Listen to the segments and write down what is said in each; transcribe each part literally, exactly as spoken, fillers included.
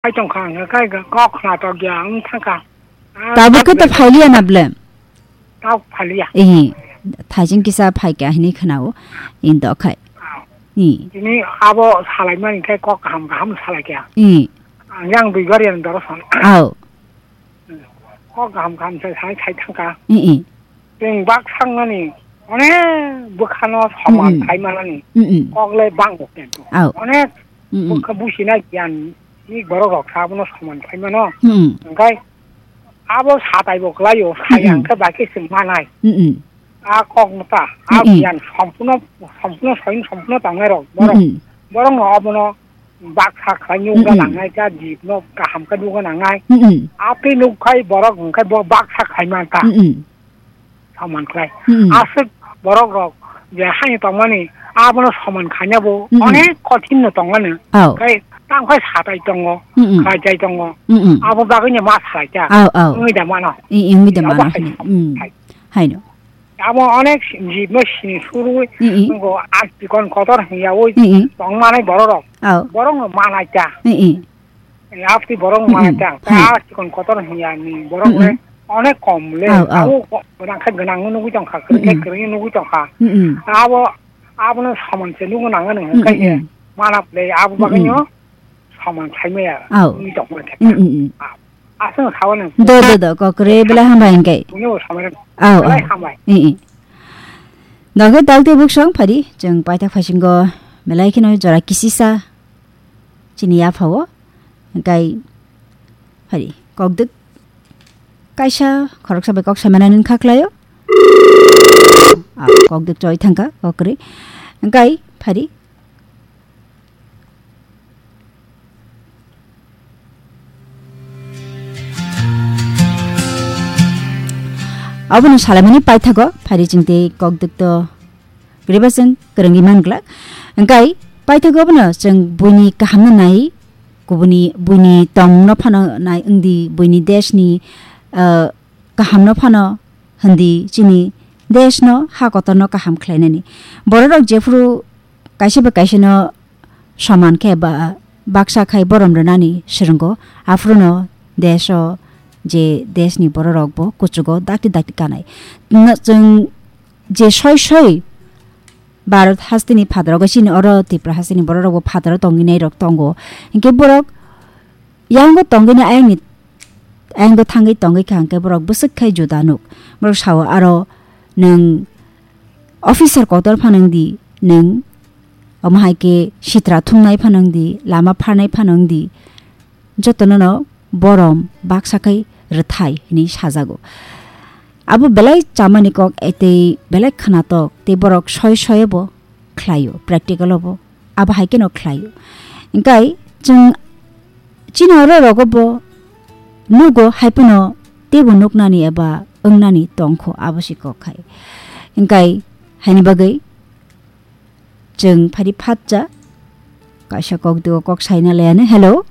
Hai tong kha, ang khai ga kok khna tok ya, ang thang kha. Ah, Tabuk khe to phailiya na ble? Tau phailiya. Eh, thaijing kisa phai kha hini khna o, in do khai. Ah. Eh. Tini abo salai mani khai kok kaham kaham salai kha. Eh. Ang yang dui gari ang doro san. Au. Kok kaham kaham sai sai sai thang kha. Eh, eh. Chwng bak sangnani, onek bwkhano soman Mm-mm. khai manani Mm-mm. kok le bang bo khe. Au. Onek Mm-mm. bwkha businai giyan ni borok rok sa abono soman khai mano. Mm-mm. Hwnkhe abo satai bo kwlaio, sai Mm-mm. ang khe bai khe chwng manai. Mm-mm. A kok no ta, a Mm-mm. giyan sompurno, sompurno soin sompurno tongnai rok borok. Mm-mm. Borok no abono baksa khlai nukna Mm-mm. nangnai ta, jibno kaham khe nukna nangnai. Mm-mm. Atwi nuk khai borok hwnkhe bo baksa khlai man ta. Mm-mm. Soman khlai. Mm-mm. Aswk borok rok je haino tongmani abono soman khaina bo Mm-mm. onek kothin no tongmani. Au. Khai tang khai satai tongo, Mm-mm. khlai jai tongo. Mm-mm. Abo bagwi no ma salai ta. Au, au. Wngwi da mano. I, i, wngwi da Abo mano hai hwnwi. Mm. Hai. Haino. Amo onek jibno sini surui Mm-mm. nungo a chikon kotor hwnyaui Mm-mm. tongmanai bororok. Au. Borokno manai ta. Mm-mm. Apti borok Mm-mm. manai ta. Hai. A chikon kotor hwnyaui borok Mm-mm. le onek kom le. Au, au. Abo ko-, gwnang khe gwnang nugui tongkha, kwrwi khe Mm-mm. kwrwi nugui tongkha. Mm-mm. Abo, abono samon se nugui nangani hwnkhe Mm-mm. manap le abo Mm-mm. bagwino samon saimaya. Au. Nugui tongkha. Mm-mm. Ah. Aswk sawi nang. Do, do, do, kok kwrwi belai hambai hwnkhe. Buino samai rang. Au, belai au. Hambai. I, i. Doge dal tei buksong phadi, chwng paithak phaisingo belai kheno jora kisisa chini yaphao. Hwnkhe phadi, kokdwk kaisa khoroksa bai kok saimana nini kha khlaio. Au, kokdwk choi thangkha, kok kwrwi. Hwnkhe phadi, Abono salaimani paithago phari chwng tei kokdwk to kwrwiba chwng kwrwngwi man glak. Hwnkhe paithago abono chwng buini kahamno nai, kubuni buini tongmungno phano nai wngdi, buini deshni, ah, kahamno phano hwndi chini deshno ha kotorno kaham khlainani. Bororok jephuru kaisa bai kaisano soman khe ba baksa khai borom rwnani swrwngo, aphuru no desho je deshni bororok bo kuchugo dakti dakti kanai. No, chwng je soi soi Bharat hasteni phataro chini oro Tripura hasteni bororok bo phataro tongwi nairok tongo. Hinkhe borok yango tongwi na ayangni, ayang do thangwi tongwi kha hwnkhe borok bwswk khai juda nuk. Borok sao aro nwng officer kotor phano wngdi, nwng omo hai khe sitra thumnai phano wngdi, lama pharnai phano wngdi, jotono no borom baksa khai rwthai hinwi sajago. Abo belai chamani kok, eh, tei belai khwnatok, tei borok soi soibo khlaio, practical o bo abo hai kheno khlaio. Hwnkhe chwng chini oro rogo bo nugo, hai phano teibo nuknani eba wngnani tongkho, abo se kok khai. Hwnkhe haini bagwi chwng phari phatsa kaisa kok duo kok saina laiano. Hello.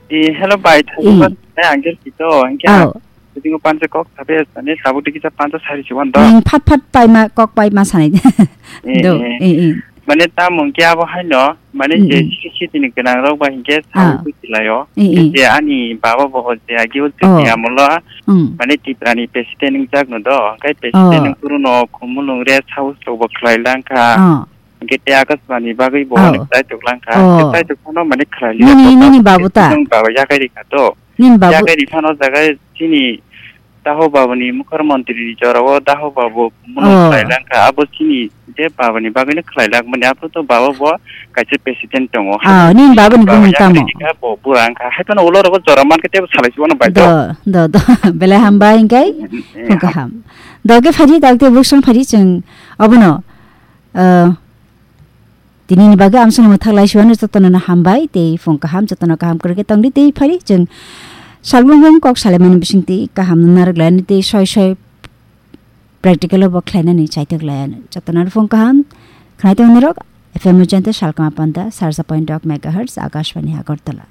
Eh, hello bai, Eh. Thangba, eh, angel kito, angel. Ao. Tini ko pansa kok sabe sani, sabo tiki sa pansa sari chuan do. Ning phat phat paima, kok paima sanai. Eh, Do, eh. Eh, eh. Mane ta mungki abo haino, mane je Mm, mm. Siki sitini gwnang rok ba hinkhe Ah. Sabo tiki layo. Eh, eh. Je ani baba bo je agi ul Oh. Tiki amolo, Mm. Mane Tripura ni president wngjak no do, hwnkhe president Oh. Wngkuru no khumulung rest house rok bo khlai langkha. Oh. Hwnkhe tei Akashbani bagwi bo Oh. Hwnwi khlai tok langkha. Oh. Hwnkhe khlai tok phano mane khlai liya Nini, kok nini babu ta? Nung baba yakai rikha to. Nini babu Yakai riphano jaga chini Daho babuni mukhyamantri ni jorao Daho babu muno Oh. Khlai langkha. Abo chini je babuni bagwino khlai langmani. Aphuru to baba bo kaisa president tongo. Ah, nini babuni Baba bumung yakai tamo? Rikha bo bura wngkha. Hai phano ulo rogo jora mankhe tebo salai chuano bai to. Do, do, do. Belai hambai hwnkhe. Mm, mm, Phung ham- kaham. Doge phari, dagde buksong phari chwng obono, ah, Tinini bagwi amsano mwthak lai siwano jotono no hambai tei phung kaham, jotono kaham kwrwkhe tongdi tei phari chwng salbrum brum kok salaimani bisingtwi kaham no narwk lainani tei soi soi practical o bo khlainani chaitok laianw. Jotono no phung kaham khwnai tongni rok F M Ujanta salkama panda sarsa point dok megahertz Akashbani Agartala.